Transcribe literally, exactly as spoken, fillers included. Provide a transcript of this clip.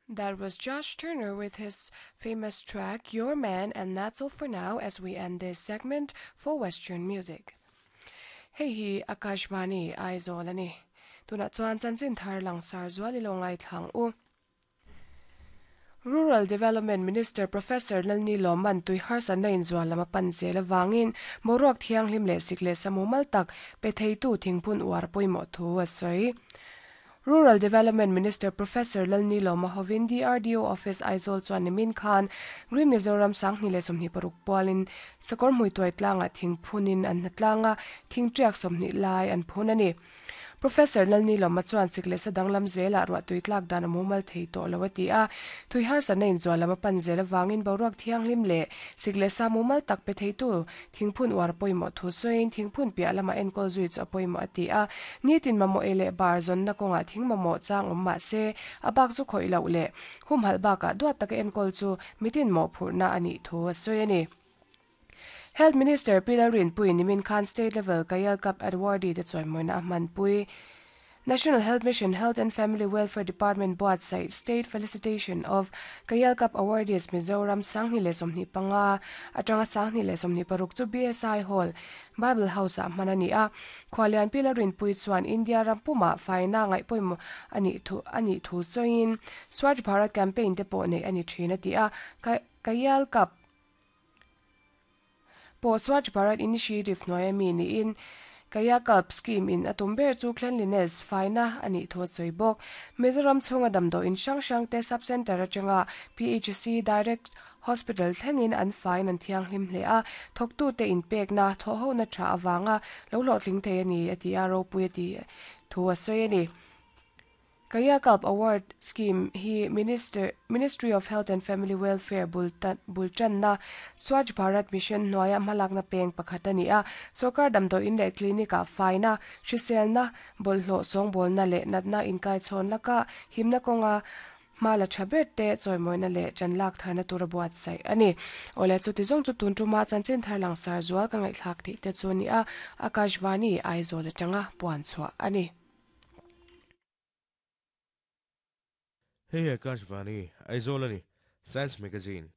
That was Josh Turner with his famous track Your Man, and that's all for now as we end this segment for Western music. Hei hi Akashvani Aizawl ani. Tuna chuan chanchin thar langsar zuali lo ngai thlang u. Rural Development Minister Professor Lalni Loman tui harsa na in zual lama pan zel awangin boruak thianghlim leh sik leh samumal tak pe theitu thingphun uar pawimawh thu a sawi. Rural Development Minister Professor Lalni Loma hovin D R D O Office Aizawl chuan nimin khan Green Mizoram sanghni leh sawmhnih paruk pualin sakawr hmui tuai tlangah thingphunin an hna tlanga thingṭiak sawmhnih lai an phun ani. Professor Lalni Loma chuan sik leh sadang lam zela ruah tui tlak dan a mumal thei tawh lo a ti a, tui harsa na in zual lama pan zel awangin boruak thianghlim leh sik leh sa mumal tak pe theitu thingphun uar pawimawh thu sawiin thingphun piah lama enkawl zui chu a pawimawh a ti a, nitin mamawh e leh bar zawnna kawngah thing mamawh chang awm mah se a bak chu khawih loh leh humhalh bakah duat taka enkawl chu mitin mawh phurhna anih thu a sawi ani. Health Minister Pilar Rinpui nimin khan State Level Kayal Cup Awardee te chuaimawina a hmanpui. National Health Mission Health and Family Welfare Department buatsaih State Felicitation of Kayal Cup Awardees Mizoram sanghni leh sawmhnih panga atanga sanghni leh sawmhnih paruk chu B S I Hall Bible House ah hman ani a. Khwalian Pilar Rinpui chuan India rampuma faina ngaih pawimawh ani thu ani thu sawiin Swachh Bharat campaign te pawh nei ani thin a ti a. Kayal Cup Po Swachh Bharat Initiative hnuaia mi niin Kayakalp scheme in atum ber chu cleanliness faina ani thu sawi bawk. Mizoram chhunga damdaw in hrang hrang te sub center atanga P H C Direct Hospital thlengin an fain an thianghlim hle a, thawktu te in pekna thaw ho na tha awanga lo hlawhtling thei ani a ti a ropui a ti thu a sawi ani. Kayakalp Award Scheme hi Minister Ministry of Health and Family Welfare bultan na Swachh Bharat Mission hnuaia hmalakna peng pakhat ani a, sarkar damdaw in leh clinic ah faina hriselna bawlhhlawh sawngbawlna leh natna inkai chhawn laka himna kawnga hmala tha ber te chawimawina leh chanlak tharna tura buatsaih ani. Awle chu tizawng chu tun tuma chanchin thar langsar zual ka ngaihthlak tih te chu ni a, Akashvani Aizawl atanga puan chhuah ani. Hey Akashvani, Aizawl ani, Science Magazine.